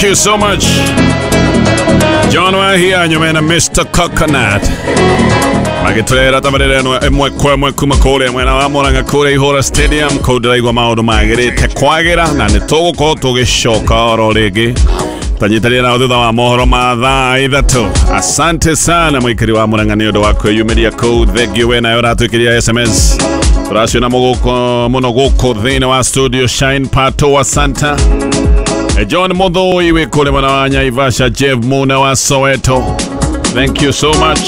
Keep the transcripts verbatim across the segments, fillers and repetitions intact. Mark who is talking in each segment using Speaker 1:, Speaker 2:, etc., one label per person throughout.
Speaker 1: Thank you so much. John Wahia nyumena Mister Coconut. Magĩtũrehera tabarĩra ĩno ĩmwe kwa ĩmwe kuma kũrĩa mwena wa Murang'a kũrĩa Ihũra Stadium kũu ndĩraigua maũndũ magĩrĩte kwagĩra na nĩ tũgũkorwo tũgĩcoka oro rĩngĩ tanyitanĩra nao thutha wa mohoro ma thaa ithatũ. Asante sana mũikari wa Murang'a nĩ ũndũ wa kwĩyumĩria kũu. Thengiũ we nawe ũratwĩkĩria S M S tũraciona mũgũkũ mũno gũkũ thĩinĩ wa studio. Shine Pato wa Santa, John Muthoi wĩ kũrĩa mwena wa Naivasha, Jeff Muna wa Soweto, thank you so much.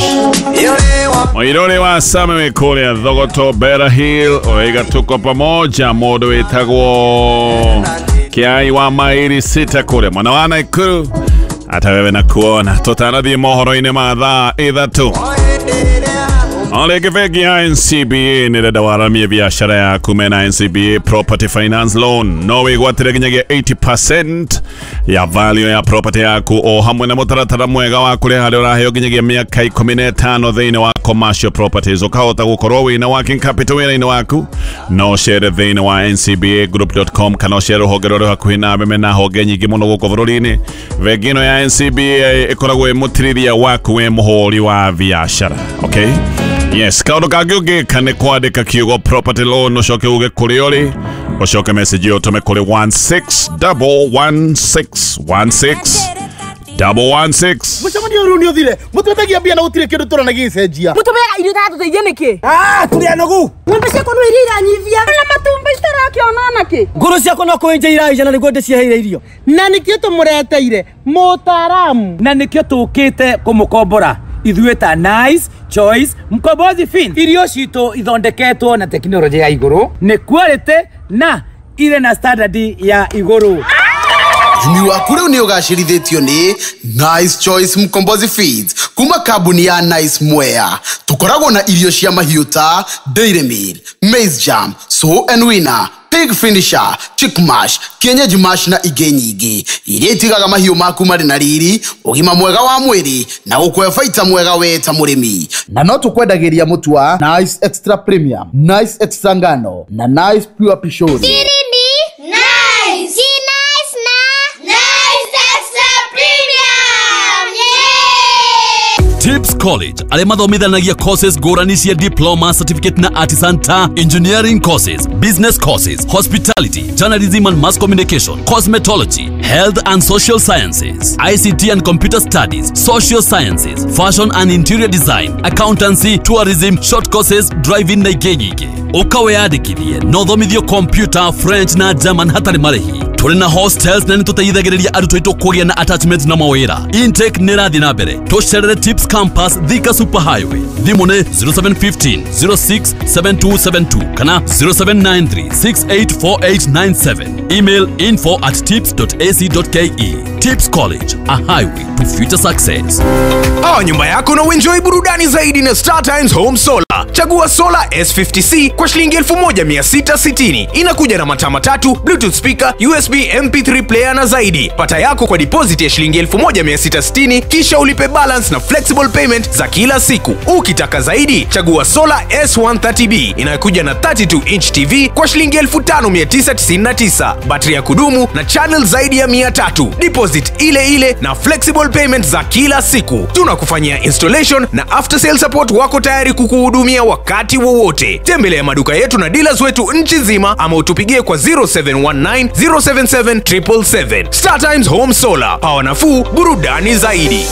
Speaker 1: Moirore wa Same wĩ kũrĩa Thogoto Bera Hill, oiga tuko pamoja. Mũndũ wĩtagwo Kiai wa mairi sita kũrĩa mwena wa Nakuru, hata wewe na kuona tũtanathiĩ mohoro-inĩ ma thaa ithatũ. Olege bengi ya N C B A nĩrenda waramie biashara yaku mena N C B A Property Finance Loan. No wĩgwatĩre nginyagia eighty percent ya value ya property yaku o hamwe na mũtaratara mwega wa kũrĩha harĩa ũraheo nginyagia mĩaka ikũmi na ĩtano thĩinĩ wa commercial properties. Ũkahota gũkorwo wĩna working capital wĩra-inĩ waku. No ũcere thĩinĩ wa N C B A group dot com kana ũcere rũhonge rũrĩa hakuhĩ nawe mena honge nyingĩ mũno gũkũ bũrũri-inĩ. Bengi ĩno ya N C B A ĩkoragwo ĩ mũtirĩria waku wĩ mũhũri wa biashara. Okay? Yes, kaũndũ kangĩ ũngĩka nĩ kwandĩka kiugo property loan ũcoke uge kũrĩa ũrĩ, ũcoke message ĩyo ũtũme kũrĩ one six double one six one six double one six.
Speaker 2: Mũcemanio ũyũ nĩ ũthire. Mũtwetagia mbia na gũtirĩ kĩndũ tũrona gĩgĩcenjia.
Speaker 3: Mũtũmeaga irio itatũteithia nĩkĩ?
Speaker 4: Ah, tũrĩ anogu.
Speaker 3: Ng'ombe ciakwa no iria iranyivia. Na matumbĩ itarakĩona nakĩ?
Speaker 4: Ngũrũ ciakwa no kũenja iraija na nĩguo ndĩciheire irio.
Speaker 2: Na nĩkĩo tũmũreteire mũtaaramu.
Speaker 4: Na nĩkĩo tũkĩte kũmũkombora. Ithuĩ ta Nice Choice Mkombozi Fin. Irio citũ ithondeketwo na tekinoronjĩ ya igũrũ, nĩ quality na irĩ na standard ya igũrũ.
Speaker 5: Ũrĩmi waku rĩu nĩ ũgacĩrithĩtio nĩ Nice Choice Mkombozi Feeds kuma kambuni ya Nice Mwea. Tũkoragwo na irio cia mahiũ ta Dairy Meal, Maize Jam, Sow and Winner, Pig Finisher, Chick Mash, Kienyeji Mash na ingĩ nyingĩ iria itigaga mahiũ maku marĩ na riri, ũgima mwega wa mwĩrĩ na gũkũhe baita mwega we ta mũrĩmi.
Speaker 2: Na no tũkwendagĩria mũtu wa Nice Extra Premium, Nice Extra Ngano na Nice Pure Pishori.
Speaker 6: Siri ni Nice. Si Nice na Nice Extra Premium. Yeah!
Speaker 7: Tips College arĩa mathomithanagia courses ngũrani cia diploma, certificate na artisan ta engineering courses, business courses, hospitality, journalism and mass communication, cosmetology, health and social sciences, I C T and computer studies, social sciences, fashion and interior design, accountancy, tourism, short courses, driving na ingĩ nyingĩ. Ũka wĩyandĩkithie na ũthomithio computer, French na German hatarĩ marĩhi. Tũrĩ na hostels na nĩtũteithagĩrĩria arutwo aitũ kũgĩa na attachment na mawĩra. Intake nĩ ĩrathiĩ na mbere. Tũcerere Tips Campus Thika Super Highway. Thimũ nĩ zero seven one five zero six seven two seven two kana zero seven nine three six eight four eight nine seven. Email info at tips dot a c dot k e. Tips College, a highway to future success.
Speaker 8: Pawa nyumba yako na uenjoy burudani zaidi na Star Times Home Solar. Chagua Solar S fifty C kwa shilingi elfu moja mia sita sitini. Inakuja na mataa matatu, Bluetooth speaker, U S B M P three player na zaidi. Pata yako kwa deposit ya shilingi elfu moja mia sita sitini kisha ulipe balance na flexible payment za kila siku. Ukitaka zaidi, chagua Solar S one thirty B inayokuja na thirty two inch T V kwa shilingi elfu tano mia tisa tisini na tisa. Battery ya kudumu na channel zaidi ya mia tatu. Deposit ile ile na flexible payment za kila siku. Tunakufanyia installation na after sale support, wako tayari kukuhudumia wakati wowote. Tembelea maduka yetu na dealers wetu nchi nzima ama utupigie kwa zero seven one nine zero seven seven triple seven. Star Times Home Solar, pawa nafuu, burudani zaidi.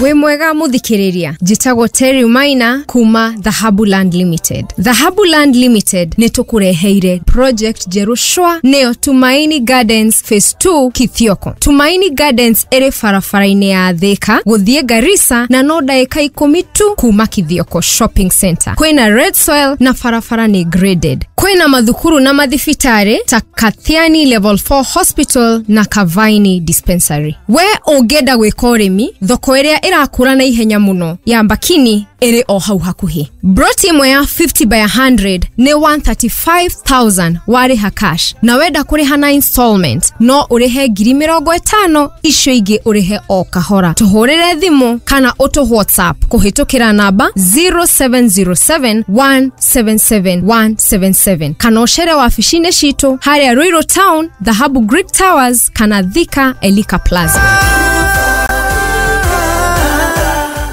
Speaker 9: Wĩ mwega mũthikĩrĩria, njĩtagwo Terry Maina kuma Dhahabu Land Limited. Dhahabu Land Limited nĩ tũkũreheire project njerũ shwa, nĩyo Tumaini Gardens Phase two Kithioko. Tumaini Gardens ĩrĩ barabara-inĩ ya Thika gũthiĩ Garissa na no ndagĩka ikũmi tu kuma Kithioko Shopping Center. Kwĩna red soil na barabara nĩ graded. Kwĩna mathukuru na mathibitarĩ ta Kathiani Level four Hospital na Kavaini Dispensary. We ũngĩenda gwĩka ũrĩmi, thoko ĩrĩa ĩrakũra na ihenya mũno ya Mbakini ĩrĩ o hau hakuhĩ. Broti ĩmwe ya fifty by one hundred nĩ one hundred thirty-five thousand warĩha cash, na wenda kũrĩha na installment no ũrĩhe ngiri mĩrongo ĩtano, icio ingĩ ũrĩhe o kahora. Tũhũrĩre thimũ kana ũtũ WhatsApp kũhĩtũkĩra namba zero seven zero seven one seven seven one seven seven, kana ũcere wabici-inĩ citũ harĩa Ruiru Town, Dhahabu Greek Towers, kana Thika, Elika Plaza.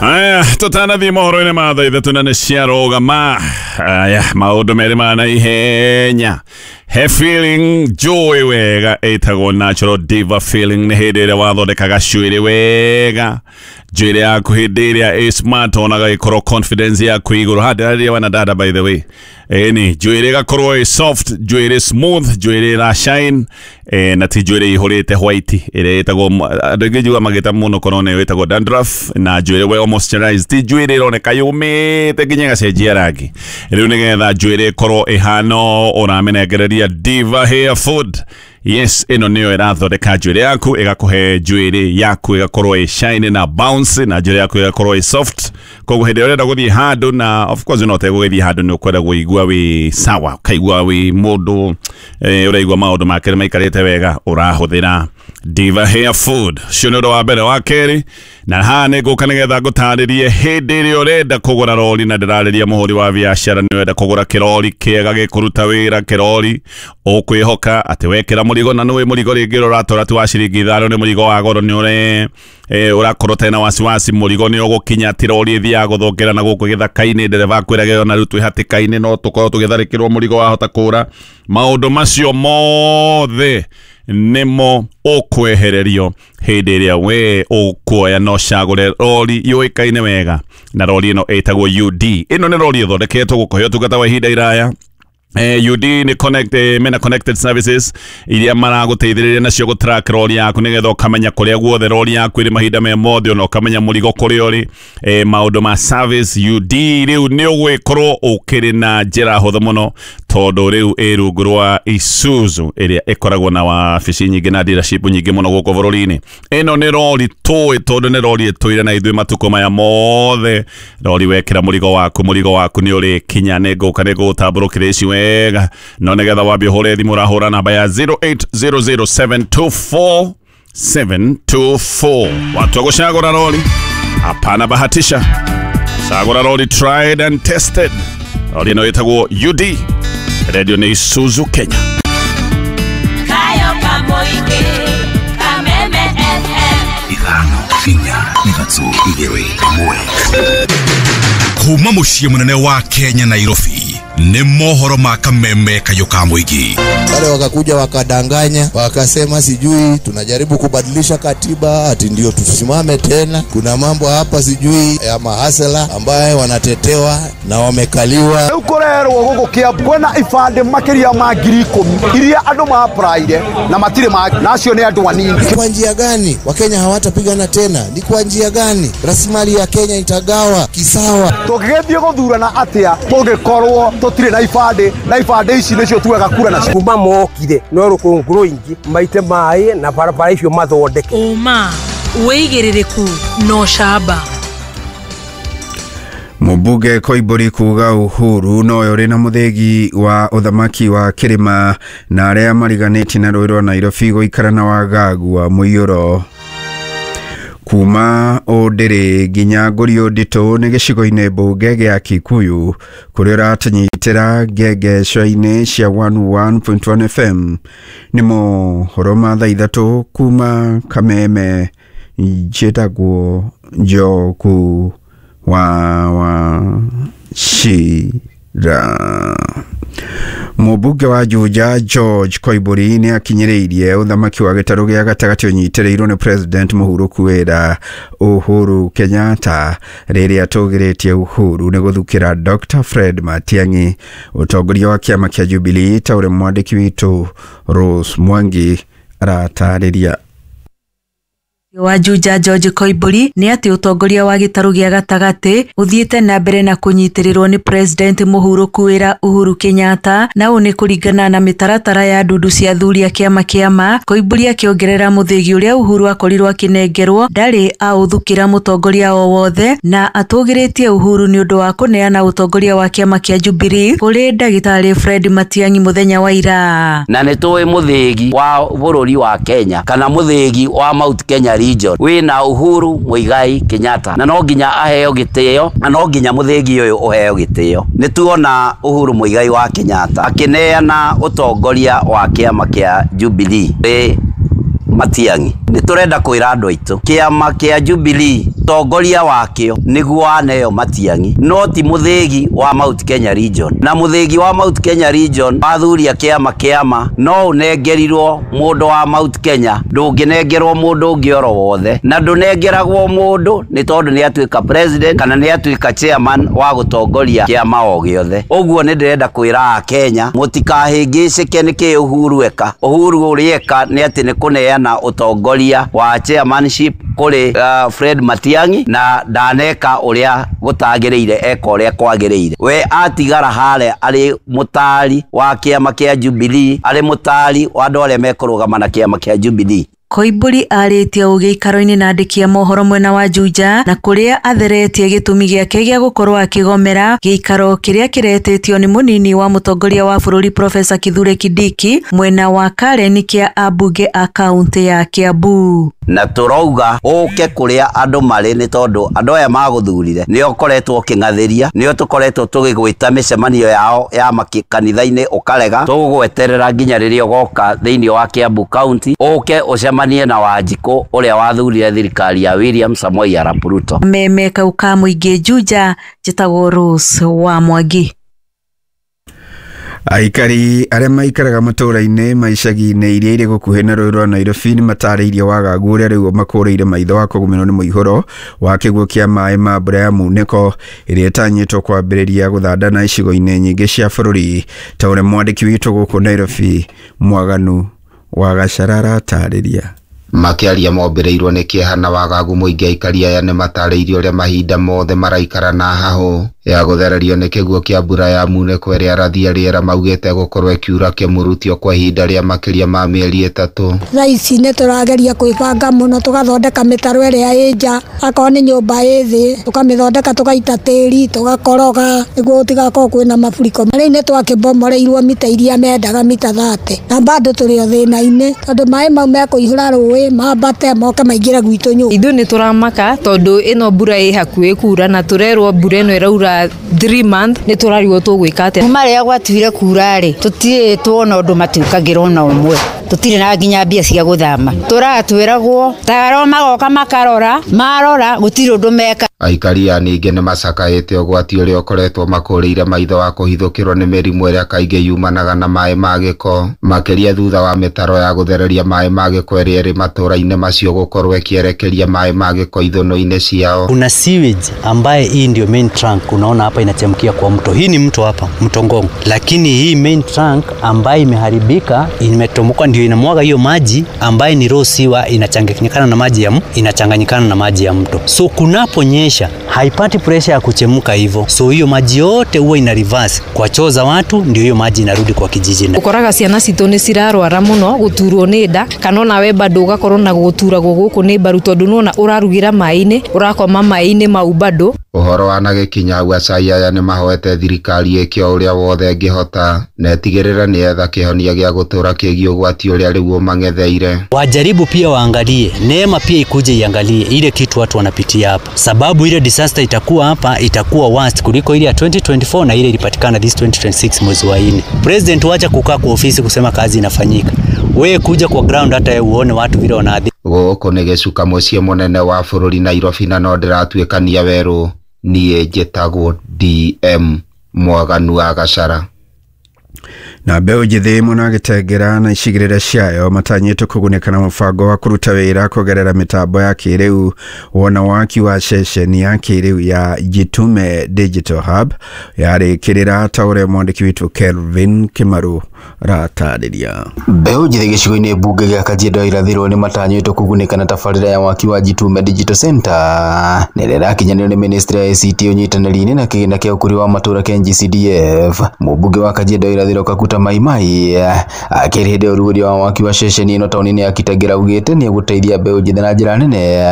Speaker 1: Aya, tũtanathiĩ mohoro-inĩ ma thaa ithatũ na nĩ ciarũgama. Aya, maũndũ merĩ ma na ihenya. He feeling njũĩ wega ĩtagwo natural diva feeling. Nĩ hĩndĩ ĩrĩa wathondeka gacuĩrĩ wega, njuĩrĩ yaku hĩndĩ ĩrĩa ĩ smart, onaga ĩkorwo confidence yaku igũrũ. Ha ndĩrarĩria wana dada, by the way. Ĩni njuĩrĩ ĩgakorwo ĩ soft, njuĩrĩ smooth, njuĩrĩ ĩra shine, eh, na ti njuĩrĩ ihũrĩte white ĩrĩa ĩtagwo, andũ aingĩ njuga magĩta mũno korwo nĩ ĩtagwo dandruff, na njuĩrĩ well moisturized, ti njuĩrĩ ĩroneka yũmĩte nginya ĩgacenjia rangi. Rĩu nĩgetha njuĩrĩ ĩkorwo ĩhana ũramĩnengereria Diva Hair Food. Yes, ĩno nĩyo ĩrathondeka njuĩrĩ yaku, ĩgakũhe njuĩrĩ yaku ĩgakorwo ĩ shine na bounce, na njuĩrĩ yaku ĩgakorwo ĩ soft. Koguo hĩndĩ ĩrĩa ũrenda gũthiĩ handũ, na of course no ũtegũgĩthiĩ handũ, nĩ ũkwenda kũigua wĩ sawa, ũkaigua wĩ mũndũ eh, ũraigua maũndũ make maikarĩte wega, ũrahũthĩra Diva Hair Food. Ũcio nĩ ũndũ wa mbere. Wa kerĩ, na haha nĩ ngũka nĩgetha ngũtarĩrie hĩndĩ ĩrĩa ũrenda kũgũra rori, na ndĩrarĩria mũhũri wa biacara, nĩ ũrenda kũgũra kĩrori kĩega gĩkũruta wĩra, kĩrori ũkwĩhoka atĩ wekĩra mũrigo, na nĩũĩ mũrigo rĩngĩ ũrĩa ũratwara ti wa ciringi ithano, nĩ mũrigo wa goro, nĩ ũre eh, ũrakorwo ũtarĩ na wasiwasi mũrigo nĩ ũgũkinya, ti rori ĩthiaga gũthũkĩra na gũkũ gĩthaka-inĩ, ndereba akwĩrage ona rĩu twĩ hatĩka-inĩ, no tũkorwo tũgĩtharĩkĩrwo, mũrigo wahota kũra. Maũndũ macio mothe nĩmo ũkwehererio hĩndĩ ĩrĩa we ũkuoya no cagũre rori yũĩkaine wega, na rori ĩno ĩtagwo U D. Ĩno nĩ rori ĩthondeketwo gũkũhe ũtungata wa ihinda iraya. Eh, U D nĩ connect, eh, mena connected services iria maragũteithĩrĩria nacio gũ track rori yaku, nĩgetha ũkamenya kũrĩa guothe rori yaku ĩrĩ mahinda me mothe, ona ũkamenya mũrigo kũrĩa ũrĩ. eh, maũndũ ma service U D rĩu nĩ ũgwĩkorwo ũkĩrĩ na njĩra hũthũ mũno, tondũ rĩu ĩ rungu rwa Isuzu ĩrĩa ĩkoragwo na wabici nyingĩ na dealership nyingĩ mũno gũkũ bũrũri-inĩ. Ĩno nĩ rori tũĩ, tondũ nĩ rori ĩtũire na ithuĩ matukũ maya mothe. Rori wekĩra mũrigo waku, mũrigo waku nĩ ũrĩkinya. Nĩ ngũka nĩ ngũgũtambũrũkĩra ici wega, no nĩgetha wambie ũhũre thimũ, ũrahũra namba ya zero eight zero zero seven two four seven two four. Watu wa gũcagũra rori, hapana bahatisha, cagũra rori tried and tested. Rori ĩno ĩtagwo U D, redio nĩ Isuzu Kenya.
Speaker 10: Kayo Kamoike, Kameme F M.
Speaker 11: Ithano, inya, ithatũ, igĩrĩ, ĩmwe. Kuma mũciĩ mũnene wa Kenya, Nairobi, nĩ mohoro ma Kameme Kayũ ka Mũingĩ.
Speaker 12: Wale wakakuja wakadanganya, wakasema sijui tunajaribu kubadilisha katiba ati ndio tusimame tena. Kuna mambo hapa sijui ya mahasela ambaye wanatetewa na wamekaliwa.
Speaker 13: Rĩu kũrerwo gũkũ Kiambu kwĩna ibandĩ makĩria ma ngiri ikũmi iria andũ maapraire na matirĩ ma, na acio nĩ andũ anini.
Speaker 12: Ni kwa njia gani Wakenya hawatapigana tena? Ni kwa njia gani rasilimali ya Kenya itagawa kisawa?
Speaker 13: Tũngĩgĩthiĩ gũthurana atĩa tũngĩkorwo tũtirĩ na ibandĩ, na ibandĩ ici nĩcio tuoyaga kura nacio?
Speaker 14: Kuma mokire no rũkũngũ rũingĩ maite maĩ na barabara icio mathondeke.
Speaker 15: Ũma, wĩigĩrĩrĩku na ũcamba.
Speaker 16: Mũmbunge Koimbũri kuga Uhuru nowe ũrĩ na mũthĩgi wa ũthamaki wa kĩrĩma, na arĩa mariganĩtie na rũĩ rwa Nairobi gũikara na wagagu wa mũiyũro. Kuma Ũndĩrĩ nginya Ngũriũ Nditũ nĩ gĩcigo-inĩ mbunge gĩa Kikuyu, kũrĩa ũratũnyitĩra ngengeco-inĩ cia one oh one point one F M. Nĩ mohoro ma thaa ithatũ kuma Kameme. Njĩtagwo Njoku wa wa Cira. Mũmbunge wa Juja George Koimbũri nĩ akinyĩrĩirie ũthamaki wa gĩtarũ gĩa gatagatĩ ũnyitĩrĩirwo nĩ President mũhurũku wĩra Uhuru Kenyatta, rĩrĩa atũgĩrĩtie Uhuru nĩ gũthukĩra Doctor Fred Matiang'i ũtongoria wa kĩama kĩa Jubilee, ta ũrĩa mwandĩki witũ Rose Mwangi aratarĩria.
Speaker 15: Wa Juja George Koimburi nĩ atĩ ũtongoria wa gĩtarũ gĩa gatagatĩ ũthiĩte na mbere na kũnyitĩrĩrwo nĩ President mũhurũku wĩra Uhuru Kenyatta, na ũũ nĩ kũringana na mĩtaratara ya ndundu cia athuri a kĩama kĩama. Koimburi akĩongerera mũthĩgi ũrĩa Uhuru akorirwo akĩnengerwo ndarĩ aũthukĩra mũtongoria o wothe, na atũgĩrĩtie Uhuru nĩ ũndũ wa kũneana ũtongoria wa kĩama kĩa Jubilee kũrĩ ndagĩtarĩ Fred Matiang'i mũthenya wa ira.
Speaker 17: Na nĩ tũĩ mũthĩgi wa bũrũri wa Kenya kana mũthĩgi wa Mount Kenya region wina Uhuru Muigai Kenyatta, na no nginya aheo gitio, na no nginya muthigi uyu uheo gitio. Ni tuona Uhuru Muigai wa Kenyatta akineana utongoria wa kiama kia Jubilee ri Matiang'i. Ni turenda kwira andu aitu kiama kia Jubilee tongoria wakio niguo aneo Matiang'i, no ti muthigi wa Mount Kenya region. Na muthigi wa Mount Kenya region wathuria kiama kiama no unengerirwo mundu wa Mount Kenya, ndunginengerwo mundu ungi oro wothe, na ndunengeragwo mundu ni tondu ni atuika president kana ni atuika chairman wa gutongoria kiama o giothe. Uguo ni ndirenda kwira a Kenya mutikahingicike ni ki Uhuru eka. Uhuru uria eka ni ati ni kuneana utongoria wa chairmanship kuri uh, Fred Matiang'i, na ndaneka uria gutagiriire eka uria kwagiriire. We atigara hare ari mutari wa kiama kia Jubilee, ari mutari wa andu aria mekurugama na kiama kia Jubilee.
Speaker 15: Koimburi arĩtie ũũ gĩikaro-inĩ na andĩki a mohoro mwena wa Juja, na kũrĩa atheretie gĩtũmi gĩake gĩa gũkorwo akĩgomera gĩikaro kĩrĩa kĩretĩtio nĩ mũnini wa mũtongoria wa bũrũri Profesa Kithure Kindiki mwena wa Karen kĩa ambunge a kaunti ya Kiambu.
Speaker 17: Na turauga uke kuria andu mari ni tondu andu aya maguthurire nio koretwo uking'athiria, nio tukoretwo tugigwita micemanio yao ya makanitha-ini ukarega. Tugugweterera nginya riria ugoka thiini wa Kiambu County uke ucemanie na Wanjikũ uria wathurire thirikari ya William Samoei Arap Ruto.
Speaker 15: Meme kauka mũingĩ Juja, njĩtagwo Rose wa Mwangi.
Speaker 16: Aikari arĩa maikaraga matũũra-inĩ ma icagi-inĩ iria irĩ gũkuhĩ na rũũĩ rwa Nairobi nĩ matarĩirie wagagu ũrĩa rĩu makũrĩire maitho wa kũgũmĩrwo nĩ mũihũro wa kĩguũ kĩa maĩ ma mbura ya munĩko ĩrĩa ĩtanyĩtwo kwambĩrĩria gũthandana icigo-inĩ nyingĩ cia bũrũri, ta ũrĩa mwandĩki witũ gũkũ Nairobi Mwaganu wa Gacara aratarĩria.
Speaker 18: Makiaria mombĩrĩirwo nĩ kĩeha na wagagu mũingĩ, aikari aya nĩ matarĩirie ũrĩa mahinda mothe maraikara na hahũ ya gũthererio nĩ kĩguũ kĩa mbura ya munĩko ĩrĩa arathi a rĩera maugĩte gũkorwo ĩkiura kĩmurutio kwa ihinda rĩa makĩria ma mĩeri ĩtatũ.
Speaker 19: Thaa ici nĩ tũrageria kwĩbanga mũno, tũgathondeka mĩtaro ĩrĩa ĩ nja, akorwo nĩ nyũmba ĩ thĩ tũkamĩthondeka, tũgaita tĩri, tũgakoroga nĩguo gũtigakorwo kwĩna maburiko. Rĩu nĩ twakĩbomoreirwo mita iria mendaga mita thate, na bado tũrĩ o thĩna-inĩ tondũ maĩ mau mekũihũra rũĩ mambate moke maingĩre gwitũ nyũmba.
Speaker 20: Ithuĩ nĩ tũramaka tondũ ĩno mbura ĩ hakuhĩ kura, na tũrerwo mbura ĩno ĩraura three month, nĩ tũrarigwo tũgwĩka atĩa.
Speaker 21: Kuma rĩrĩa gwatuire kura rĩ, tũtirĩ tuona ũndũ matuĩkagĩrwo na ũmwe, tũtirĩ na nginya mbia cia gũthama, tũratwĩragwo taro magoka makarora, marora gũtirĩ ũndũ meka.
Speaker 18: Aikari aya ningĩ nĩ macakaĩte ũgwati ũrĩa ũkoretwo makũrĩire maitho wa kũhithũkĩrwo nĩ mĩrimũ ĩrĩa kaingĩ yumanaga na maĩ ma gĩko, makĩria thutha wa mĩtaro ya gũthereria maĩ ma gĩko ĩrĩa ĩrĩ matũũra-inĩ macio gũkorwo ĩkĩerekeria maĩ ma gĩko ithũnũ-inĩ ciao.
Speaker 22: Kuna sewage ambaye hii ndio main trunk, unaona hapa inachemkia kwa mto. Hii ni mto hapa, mto Ngong. Lakini hii main trunk ambaye imeharibika, imetomoka, ndio inamwaga hiyo maji ambaye ni raw sewer, inachanganyikana na maji ya inachanganyikana na maji ya mto. So kunaponyesha haipati pressure ya kuchemuka hivyo. So hiyo maji yote huwa ina reverse kwa choo za watu, ndio hiyo maji inarudi kwa kijiji.
Speaker 20: Ukoraga ciana citũ nĩ cirarwara mũno gũturwo nĩ nda, kana ona we bado ũgakorwo na gũturagwo gũkũ nĩ mbaru tondũ nĩwona ũrarugĩra maĩ-inĩ, ũrakoma maĩ-inĩ mau bado.
Speaker 18: Ũhoro wanagĩkinya hau, acai aya nĩ mahoete thirikari ĩke o ũrĩa wothe ĩngĩhota na ĩtigĩrĩre nĩ yetha kĩhonia gĩa gũtũũra kĩgiĩ ũgwati ũrĩa rĩu ũmang'etheire.
Speaker 22: Wajaribu pia waangalie, neema pia ikuje iangalie ile kitu watu wanapitia hapa, sababu ile disaster itakuwa hapa itakuwa worst kuliko ile ya twenty twenty-four na ile ilipatikana this twenty twenty-six mwezi wa nne. President wacha kukaa kwa ofisi kusema kazi inafanyika, wewe kuja kwa ground hata uone watu vile wanaadhi.
Speaker 18: Gũkũ nĩ gĩcuka mũciĩ mũnene wa bũrũri Nairobi, na no ndĩratuĩkania werũ. Niĩ njĩtagwo D M Mwaganu wa Gacara.
Speaker 16: Na mbeũ njĩthĩ mwena wa Gĩtengera na icigĩrĩra ciayo matanyĩtwo kũgunĩka na mũbango wa kũruta wĩra kũgerera mĩtambo ya kĩrĩu wona waki wa ceceni ya kĩrĩu ya Jitume Digital Hub yarĩkĩrĩra ta ũrĩa mwandĩki witũ Kelvin Kimaru aratarĩria.
Speaker 3: Mbeũ njĩthĩ gĩcigo-inĩ mbunge gĩa Kajiado irathĩrwo nĩ matanyĩtwo kũgunĩka na tabarĩra ya waki wa Jitume Digital Center na ĩrĩa ĩrakinyanĩrio nĩ ministry ya I C T ũnyitanĩri-inĩ na kĩgĩna kĩa ũkũria wa matũũra kĩa N G C D F. Mũmbunge wa Kajiado irathĩrwo Kakuta Maimai akĩrĩ hĩndĩ ya ũrugũria wa waki wa ceceni ĩno taũni-inĩ ya Kitengela augĩte nĩ egũteithia mbeũ njĩthĩ na njĩra nene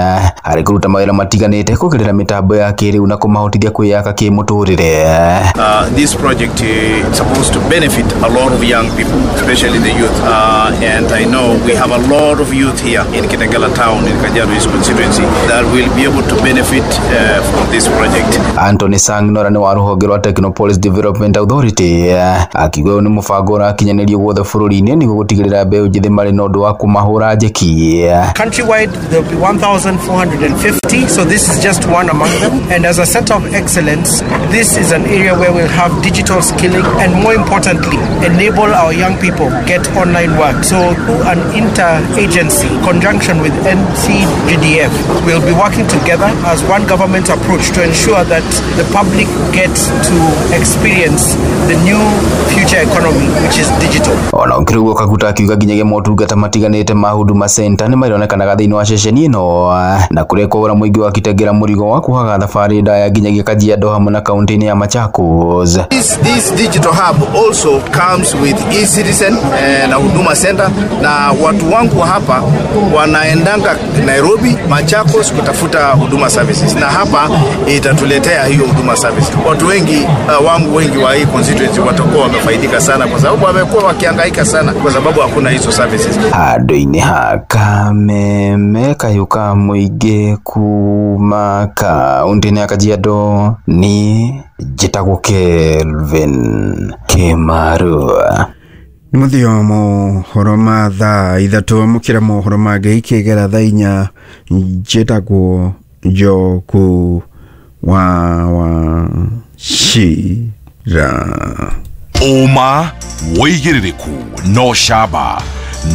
Speaker 3: harĩ kũruta mawĩra matiganĩte kũgerera mĩtambo ya kĩrĩu na kũmahotithia kwĩyaka kĩmũtũrĩre.
Speaker 4: Uh, this project is supposed to benefit a lot of young people, especially the youth. Uh, and I know we have a lot of youth here in Kitengela town, in Kajiado East constituency, that will be able to benefit uh, from this project.
Speaker 3: Anthony Sang Nora nĩ wa rũhonge rwa Technopolis Development Authority akiuga ũyũ nĩ mũbango ũrakinyanĩrio guothe bũrũri-inĩ nĩguo gũtigĩrĩra mbeũ njĩthĩ marĩ na ũndũ wa kũmahũra njeki.
Speaker 23: Countrywide there will be one thousand four hundred fifty, so this is just one among them. And as a center of excellence, this is an area where we'll have digital skilling and, more importantly, enable our young people get online work. So through an inter-agency conjunction with N C G D F, we'll be working together as one government approach to ensure that the public gets to experience the new future economy, which is digital.
Speaker 3: Ona ũkĩrĩ ũguo Kaguta akiuga nginyagia motungata matiganĩte ma Huduma Center nĩ marĩonekanaga thĩinĩ wa ceceni ĩno na kũrĩa kũgũra mũingĩ wa Kitengela mũrigo wa kuhaga thabarĩ ndaya nginyagia Kajiado hamwe na kaunti-inĩ ya Machakos.
Speaker 4: This, this digital hub also comes with e-citizen eh, na Huduma Center, na watu wangu hapa wanaendanga Nairobi, Machakos kutafuta huduma services, na hapa itatuletea hiyo huduma service. Watu wengi uh, wangu wengi wa hii constituency watakuwa wamefaidika sana, kwa sababu wamekuwa wakihangaika sana kwa sababu hakuna hizo services.
Speaker 3: Handũ-inĩ ha Kameme kayuka mũingĩ kuma kaunti-inĩ ya Kajiado ni njĩtagwo Kelvin Kimaru.
Speaker 16: Nĩ mũthio mohoro ma thaa ithatũ amũkĩra mohoro mangĩ ikĩgera thaa inya. Njĩtagwo Njoku wa wa Shira.
Speaker 11: Ũma wĩigĩrĩrĩku no camba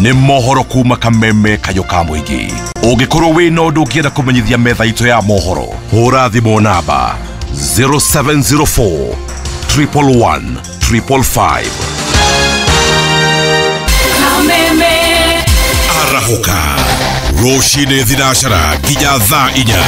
Speaker 11: nĩ mohoro kuma Kameme kayũ ka mũingĩ. Ũngĩkorwo wĩna ũndũ ũngĩenda kũmenyithia metha itũ ya mohoro, hũra thimũ namba zero seven zero four triple one triple five. Kameme arahũka rũcinĩ thinacara nginya thaa inya.